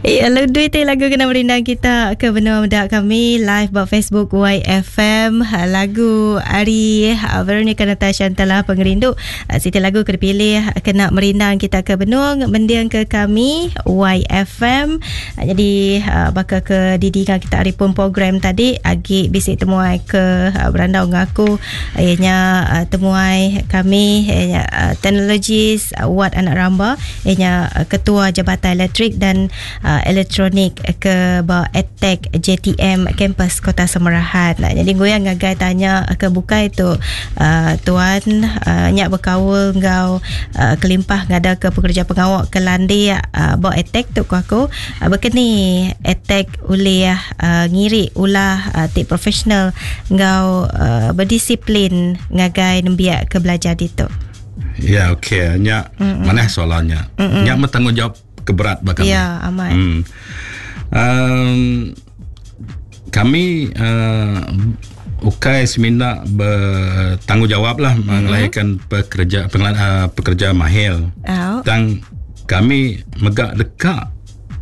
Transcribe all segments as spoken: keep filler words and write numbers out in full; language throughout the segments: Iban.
Ya, lalu duit lagu kena merindang kita ke benua muda kami live ba Facebook Y F M. Lagu ari Veronica Natasha telah pengerindu. Siti lagu ke dipilih kena merindang kita ke benua mending ke kami Y F M. Jadi baka ke didikan kita hari pun program tadi agi bisi temuai ke berandau ngaku ianya temuai kami ianya teknologis Wat Anak Ramba ianya Ketua Jabatan Elektrik dan uh, Elektronik ke ba ADTEC J T M Kampus Kota Samarahan. Nah, jadi goyang ngagai tanya ke bukai tu uh, tuan uh, nyak berkaul ngau uh, kelimpah ngada ke pekerja pengawak ke landi uh, ba ADTEC tu ku aku uh, berkeni ADTEC ulih uh, ngiri ulah uh, ti profesional ngau uh, berdisiplin ngagai nembiak ke belajar ditu. Ya, okey. Nyak mana soalannya? Mm-mm. Nyak bertanggungjawab keberat bakal. Ya, amat. Hmm. Um, kami uh, ukai semina bertanggungjawab lah mm-hmm. mengelaikan pekerja pengel, uh, pekerja mahir. Oh. Dan kami megak dekat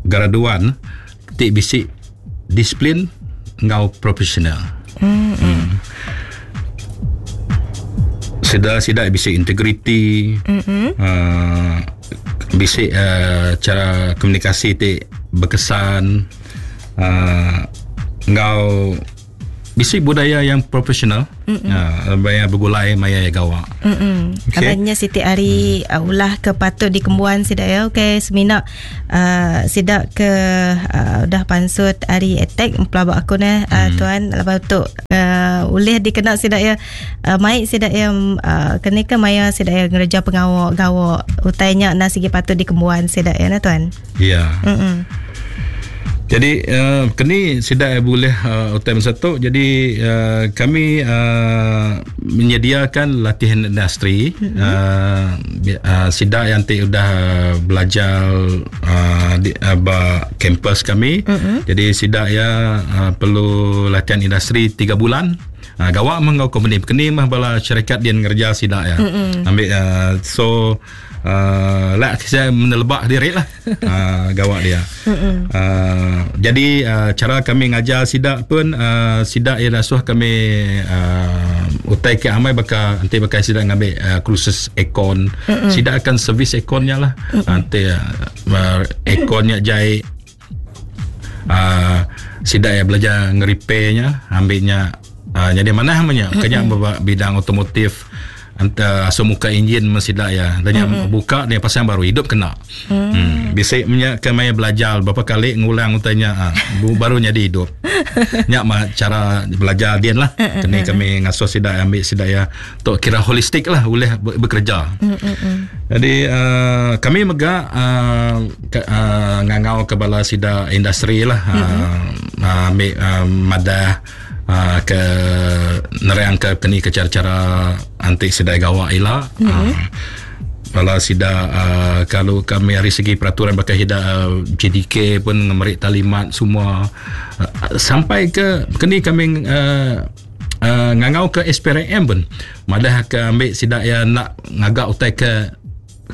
graduan tik bisik disiplin ngau profesional. Mm-hmm. Hmm. Sida-sida bisik integriti, mm-hmm. uh, bisik uh, cara komunikasi ti berkesan, uh, ngau bisik budaya yang profesional, mm-hmm. uh, maya bergulai maya ya gawak. Mm-hmm. Okay. Abangnya Siti Ari mm. uh, ulah ke patut dikembuan sida ya. Okey, semina uh, sida ke uh, dah pansut ari attack pelabak aku ne uh, mm. tuan lepas tu uh, ulih dikena sida ya uh, mai sida ya uh, kena ke maya sida ya ngereja pengawak gawak utainya na sigi patut dikembuan sida ya na tuan. Ya. Yeah. Mm-mm. Jadi uh, kini sudah boleh uh, U T M satu. Jadi uh, kami uh, menyediakan latihan industri. Mm-hmm. Uh, uh, sidak yang ti sudah belajar uh, di uh, ba kampus kami. Mm-hmm. Jadi sidak ya uh, perlu latihan industri tiga bulan. Uh, gawak mengau company kini mah bala syarikat dia ngerja sidak ya. Mm-hmm. Ambil uh, so Uh, lah saya menelebak diri lah uh, gawak dia. Uh, jadi uh, cara kami ngajar sidak pun uh, sidak ia rasuah kami uh, utai ke amai bakal nanti bakal sidak ngambil uh, kursus aircon. Mm-mm. Sidak akan servis airconnya lah. Nanti uh, airconnya jai uh, sidak ia belajar ngerepairnya, ambilnya uh, jadi mana namanya kena bidang otomotif. Anta asal muka enjin mesti ya. Dan yang mm-hmm. buka dia pasang baru hidup kena. Mm. Hmm. Bisa punya kemaya belajar berapa kali ngulang utanya ha, baru jadi hidup. Nyak mah cara belajar dia lah. Kena kami ngasuh sidak ambil sidak ya. Tok kira holistik lah boleh bekerja. Mm-hmm. Jadi uh, kami mega uh, ke, uh, ngangau ke bala sidak industri lah. Mm-hmm. Uh, ambil uh, madah Uh, ke nerang ke keni ke cara-cara antik sidai gawak ila. Mm-hmm. Uh, kalau sida uh, kalau kami dari segi peraturan bakal hida uh, J D K pun ngemerik talimat semua uh, sampai ke keni kami uh, uh, ngangau ke S P R M pun madah ke ambil sida ya nak ngagak utai ke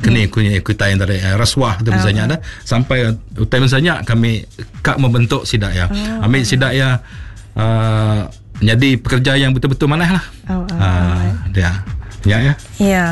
keni kunya kita yang dari uh, rasuah tu misalnya Oh. dah sampai utai misalnya kami kak membentuk sida ya. Oh. Ambil sida ya Uh, jadi pekerja yang betul-betul manah lah. Oh, oh, uh, oh. Dia. Ya ya. Ya.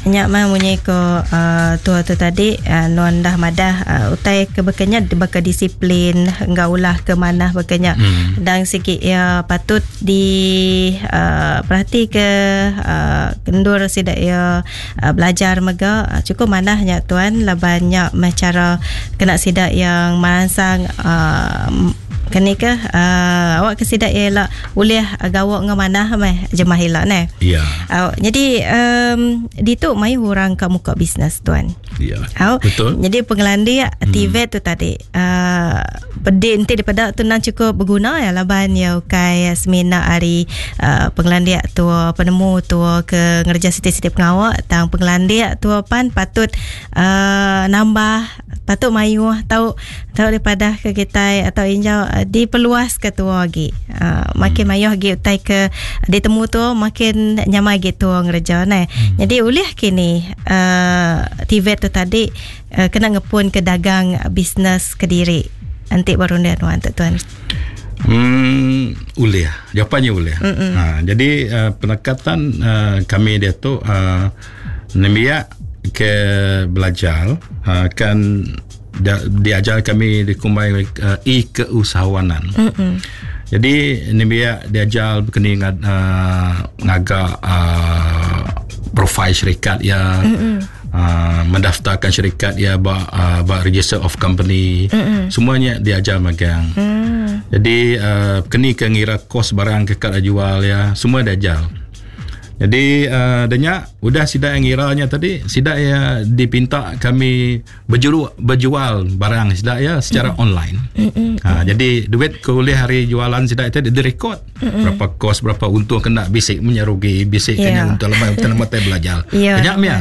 Nyak mah munyi ko uh, tua tu tadi uh, non dah madah uh, utai ke bekenya baka disiplin ngaulah ke manah bekenya. Hmm. Dan sikit ya patut di uh, perhati ke uh, kendur sidak ya uh, belajar mega uh, cukup manahnya tuan laban nyak mah cara kena sidak yang merangsang uh, kini ke uh, awak ke sidak ialah boleh gawak ngah manah meh jemah hilak ne. Ya. Uh, jadi um, di tu mai orang kat muka bisnes tuan. Ya. Uh, Betul. Jadi pengelandi hmm. T V tu tadi uh, pedih nanti daripada tu nang cukup berguna ya laban ya ukai semina hari uh, pengelandi tu penemu tu ke ngerja siti-siti pengawak tang pengelandi tu pan patut uh, nambah patut mayu tau tau daripada ke kita atau injau uh, diperluas ke tua lagi. Uh, makin hmm. mayuh lagi utai ke ditemu tu makin nyamai gitu ngerja ne. Hmm. Jadi ulih kini uh, T V tu tadi uh, kena ngepun ke dagang bisnes ke diri. Antik baru dia nuan tuan. Hmm, ulih. Jawapannya ulih. Ha, jadi uh, pendekatan uh, kami dia tu uh, nembiak ke belajar uh, kan dia, diajar kami di kumbai uh, e-keusahawanan. Mm-mm. Jadi nembiak diajar berkena ngad, uh, ngagak uh, profil syarikat ya. Mm-mm. Uh, mendaftarkan syarikat ya ba uh, ba register of company. Mm-mm. Semuanya diajar magang. Mm. Jadi uh, kini ke ngira kos barang ke kat jual ya, semua diajar. Jadi uh, denya udah sidak yang ngiranya tadi, sidak ya dipinta kami berjuru, berjual barang sidak ya secara mm. online. Mm-mm. Ha, jadi duit ke oleh hari jualan sidak itu direkod. Mm-mm. Berapa kos, berapa untung kena bisik menyerugi, bisik yeah. kena untung lemah untung lemah belajar. Yeah. Banyak mia.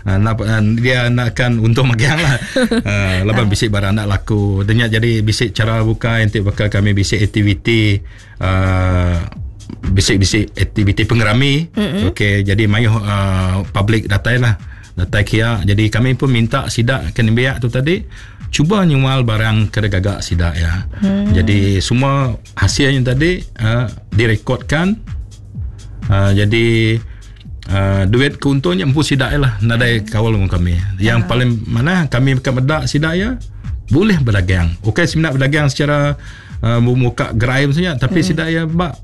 Ha, nak, dia nakkan untung magang lah. Ha, lepas bisik barang nak laku. Denya jadi bisik cara buka nanti bakal kami bisik aktiviti uh, bisik-bisik aktiviti pengerami. Mm-hmm. Okey, jadi mayuh uh, public datai lah. Datai kia. Jadi kami pun minta sidak ke nembiak tu tadi cuba nyual barang ke gagak sidak ya. Mm. Jadi semua hasilnya tadi uh, direkodkan. Uh, jadi uh, duit keuntungnya empu sidak lah nadai kawal dengan kami. Yang uh. paling mana kami bukan medak sidak ya boleh berdagang. Okey, sebenarnya berdagang secara uh, muka gerai maksudnya, tapi mm. sidak ya bak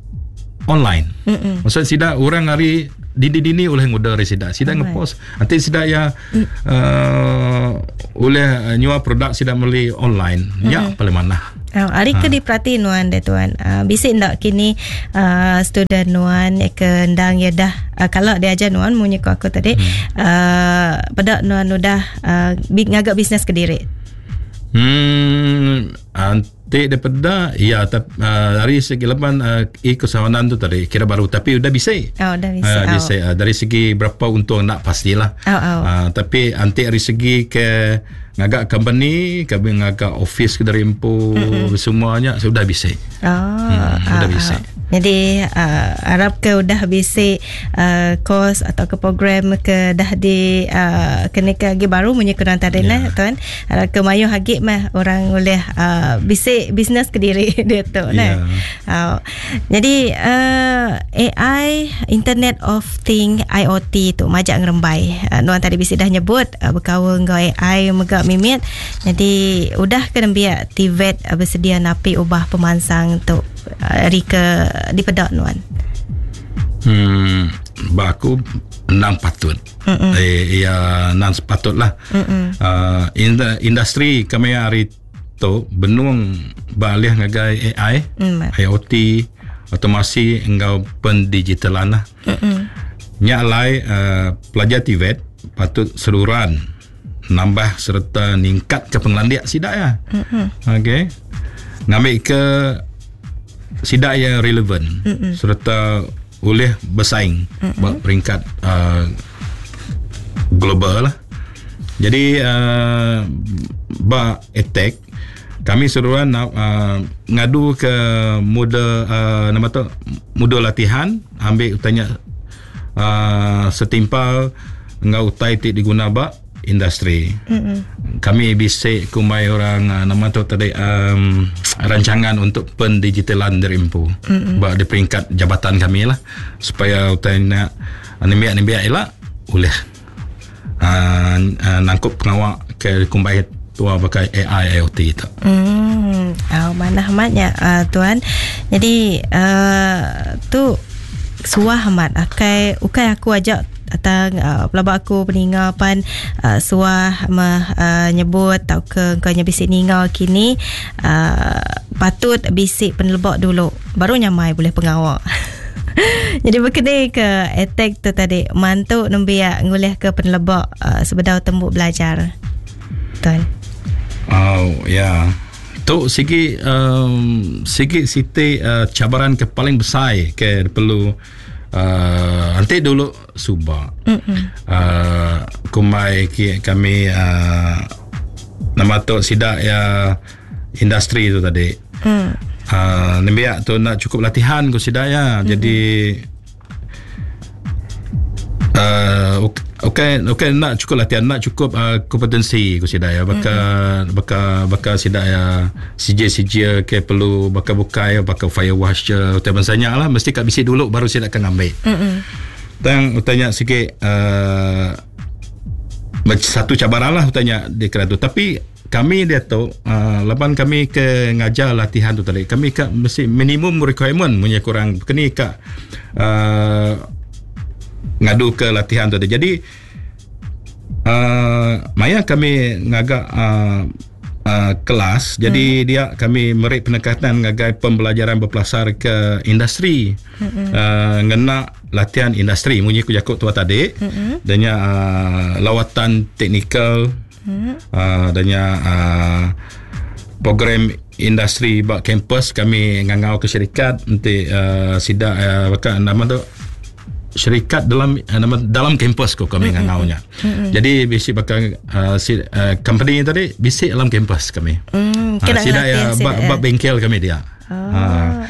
online. Mm-mm. Maksud sidak orang hari dini-dini oleh ngorder dari sidak. Sidak oh, ngepost. Nanti sidak ya mm. uh, oleh nyual produk sidak melalui online. Mm-mm. Ya paling mana. Oh, hari ha. ke diperhati nuan deh tuan. Uh, bisik ndak kini uh, student nuan ke ndang ya dah uh, kalau dia ajar nuan munyi ko aku tadi hmm. uh, pada nuan udah uh, ngagak bisnes ke diri. Hmm, antik daripada ya tap, uh, dari segi leban uh, e-keusahawanan tu tadi kira baru tapi udah bisa. Oh, udah bisa. Uh, bisa. Uh, dari segi berapa untung nak pastilah. Oh, oh. Uh, tapi antik dari segi ke ngagak company, ke ngagak office ke dari empu mm-hmm. semuanya sudah bisa. Oh, hmm, sudah uh, bisa. Uh. Jadi uh, harap ke udah bisa uh, course atau ke program ke dah di uh, kena ke lagi baru punya kurang tadi yeah. Nah tuan. Harap ke mayu hagi mah orang boleh uh, bisik bisnes ke diri dia tu nah. Yeah. Uh, jadi uh, A I, Internet of Thing, I O T tu majak ngerembai. Uh, nuan tadi bisik dah nyebut uh, berkawan ngau A I megak mimit. Jadi udah ke nembiak T V E T uh, bersedia napi ubah pemansang tu hari ke di pedak nuan. Hmm, baku enam patut. Mm-mm. Eh, ya enam sepatut lah. Uh, industri kami hari tu benung balih ngagai A I, mm. I O T, otomasi enggau pendigitalan lah. Nyak lai uh, pelajar T V E T patut seluruhan nambah serta ningkat ke pengelandiak sidak ya. Okey. Ngambil ke sidak yang relevan Mm-mm. serta boleh bersaing buat peringkat uh, global lah. Jadi uh, ba attack kami seruan uh, ngadu ke muda uh, nama tu muda latihan ambil tanya uh, setimpal ngau utai ti diguna ba industri. Mm-hmm. Kami bisik kumai orang uh, nama tu tadi um, rancangan untuk pendigitalan dari empu. Mm-hmm. Ba di peringkat jabatan kami lah supaya utai nak nembiak-nembiak elak boleh uh, uh, nangkup pengawak ke kumbai tua pakai A I I O T tu. Hmm, oh, mana amatnya uh, tuan. Jadi uh, tu suah amat akai ukai aku ajak atang uh, pelabak aku peninga pan uh, suah meh uh, nyebut tau ke kau nya bisik ninga kini uh, patut bisik penelebak dulu baru nyamai boleh pengawak. Jadi berkedai ke attack tu tadi mantuk nembiak ngulih ke penelebak uh, sebedau tembuk belajar. Tuan. Oh ya. Yeah. Tu sigi um, sigi siti uh, cabaran ke paling besar ke perlu Uh, nanti dulu subak uh, kumai ki, kami uh, nama tu sidak ya industri tu tadi mm. uh, nembiak tu nak cukup latihan ku sidak ya. Mm-hmm. Jadi uh, Okey, okey nak cukup latihan, nak cukup uh, kompetensi ku sida ya. Baka mm-hmm. baka baka sida ya C J C J ke perlu baka bukai baka fire washer utai bansanya lah mesti kat bisi dulu baru sida akan ambil. Mm-hmm. Dan utanya sikit uh, satu cabaran lah utanya di keratu. Tapi kami dia tu uh, laban kami ke ngajar latihan tu tadi kami kat mesti minimum requirement punya kurang kini kat uh, ngadu ke latihan tu tadi. Jadi uh, maya kami ngagak uh, uh, kelas jadi hmm. dia kami merik penekatan ngagai pembelajaran berpelasar ke industri hmm. uh, ngena latihan industri munyi ku jakuk tua tadi hmm. dannya uh, lawatan teknikal hmm. uh, dannya uh, program industri bak kampus kami ngangau ke syarikat nanti uh, sida uh, bakal nama tu syarikat dalam nama dalam kampus ko kami mm-hmm. ngangaunya. Mm-hmm. Jadi bisi bakal uh, si, uh, company tadi bisi dalam kampus kami. Mm, uh, sida ya bak, bak bengkel kami dia. Oh. Uh,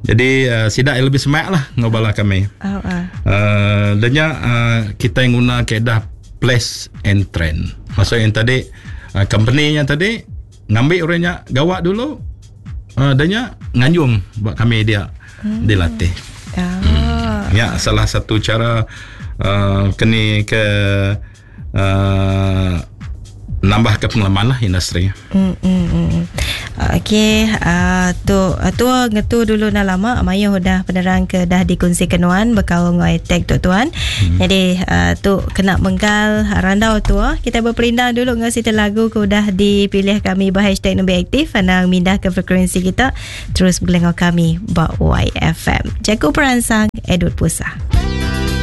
jadi uh, sida lebih semak lah ngobala kami. Oh, uh. Uh, danya uh, kita yang guna kaedah place and trend. Maksud yang tadi uh, company yang tadi ngambil orangnya gawak dulu uh, danya nganjung buat kami dia mm. dilatih. Oh. Hmm. Ya, salah satu cara uh, kini ke uh, nambah ke pengalaman lah industri. Hmm, hmm, hmm. Okey, uh, tu tu ngetu dulu dah lama mayu dah penerang ke dah dikongsi kenuan bekal ngoi tag tu tuan. Hmm. Jadi uh, tu kena menggal randau tu kita berperindang dulu ngau sita lagu ke dah dipilih kami bah hashtag nombor aktif anang mindah ke frekuensi kita terus boleh ngau kami ba Y F M. Jago peransang Edward Pusa.